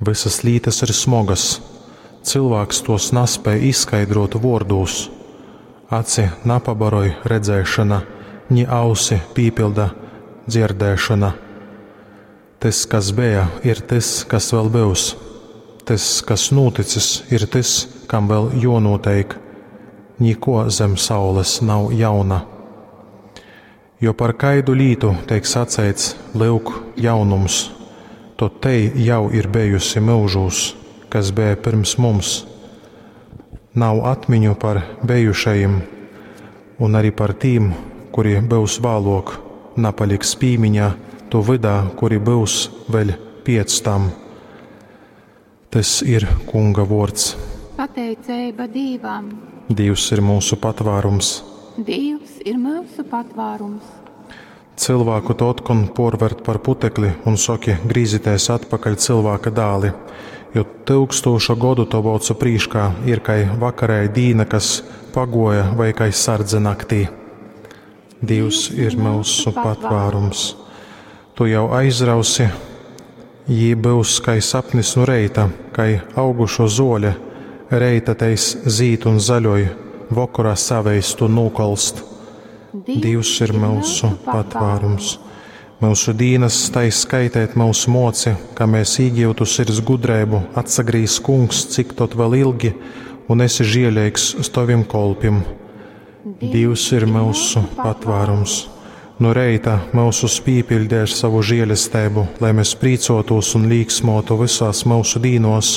Vysas lītas ir smogas, cylvāks tuos naspēj izskaidruot vuordūs. Aci napabaroj redzēšona, ni ausi pīpylda dzierdēšona. Tys, kas beja, ir tys, kas vēl byus. Tys, kas nūticis, ir tys, kam vēl juonūteik. Nikuo zem saules nav jauna. Jo par kaidu lītu teik saceits, lyuk, jaunums, tod tei jau ir bejusi myužūs, kas beja pyrms mums. Nav atmiņu par bejušajim, un arī par tīm, kuri byus vāluok, napaliks pīmiņā tu vydā, kuri byus vēļ piec tam. Tys ir Kunga vuords. Pateiceiba Dīvam. Dīvs ir mūsu patvārums. Dīvs ir myusu patvārums. Cylvāku tu otkon puorvert par putekli un soki, grīzitēs atpakaļ cylvāka dāli, jo tyukstūša godu tovu ocu prīškā ir kai vakarēja dīna, kas paguoja, vai kai sardze naktī. Dīvs ir myusu patvārums. Tu jau aizrausi, jī byus kai sapnis nu reita, kai augušo zuole, reita teis zīd un zaļoj, vokorā saveist un nūkolst. Dīvs ir myusu patvārums. Myusu dīnas tai skaitēt myus moci, ka mēs īgiutu sirds gudreibu, atsagrīz kungs, cik tot vēl ilgi, un esi žieleigs uz tovim kolpim. Dīvs ir myusu patvārums. Nu reita myusus pīpiļdē ar savu žielesteibu, lai mēs prīcotūs un līksmotu visās myusu dīnos,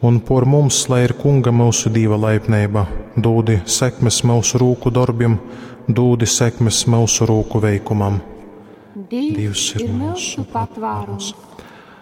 un por mums, lai ir Kunga myusu Dīva laipneiba, dūdi sekmes myusu rūku dorbim, dūdi sekmes myusu rūku veikumam. Dīvs ir myusu patvārums.